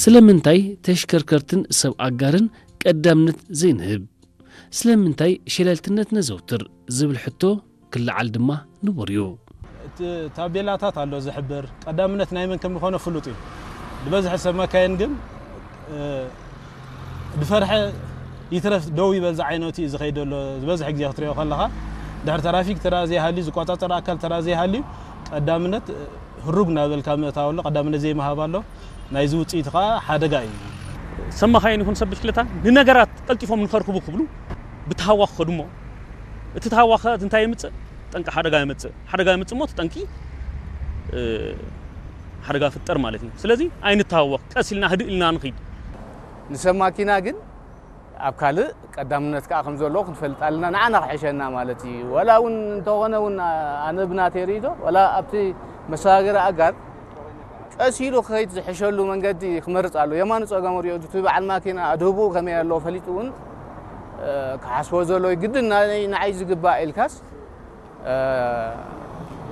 ስለምንታይ ተሽከርከርትን ሰብ ኣጋርን ቀዳምነት ዘይንህብ? ስለምንታይ ሸለልትነት ነዘውትር ዝብል ሕቶ ክለዓል ድማ ንቡር እዩ። እቲ ታቤላታት ኣሎ ዝሕብር፣ ቀዳምነት ናይ መን ከም ዝኾነ ፍሉጥ እዩ። ዝበዝሐ ሰብ መካይን ግን ዝፈርሐ ይትረፍ ደው ይበል ዝዓይነቱ እዩ ዝኸይድ ዘሎ። ዝበዝሐ ግዜ ክትሪኦ ከለኻ ድሕሪ ትራፊክ ተራ ዘይሃልዩ፣ ዝቆጻጸር ኣካል ተራ ዘይሃልዩ፣ ቀዳምነት ህሩግ እናበልካ ምእታው ኣሎ፣ ቀዳምነት ዘይምሃብ ኣሎ። ናይዚ ውፅኢት ከዓ ሓደጋ እዩ። ሰብ መኻይን ይኹን ሰብ ብሽክለታ ንነገራት ቀልጢፎም ንኸርክቡ ክብሉ ብተሃዋኽ ከዱ እሞ፣ እቲ ተሃዋኽ እንታይ የምፅእ? ጠንቂ ሓደጋ የምፅእ። ሓደጋ የምፅእ እሞ እቲ ጠንቂ ሓደጋ ፍጠር ማለት እዩ። ስለዚ ኣይንተሃወኽ፣ ቀስ ኢልና ህድእ ኢልና ንኺድ። ንሰብ ማኪና ግን ኣብ ካልእ ቀዳምነት ከዓ ከም ዘሎ ክንፈልጥ ኣለና፣ ንዓና ክሕሸና ማለት እዩ። ወላ እውን እንተኾነ እውን ኣነ ብናተይ ርእይቶ፣ ወላ ኣብቲ መሰጋገሪ ኣጋር ቀስ ኢሉ ክኸይድ ዝሕሸሉ መንገዲ ክመርፅ ኣሎ። የማኑ ፀገሙ ሪኦ፣ እቲ በዓል ማኪና ኣድህብኡ ከመይ ኣሎ ፈሊጡ እውን ክሓስቦ ዘሎ ግድን ንዓይ ዝግባእ ኢልካስ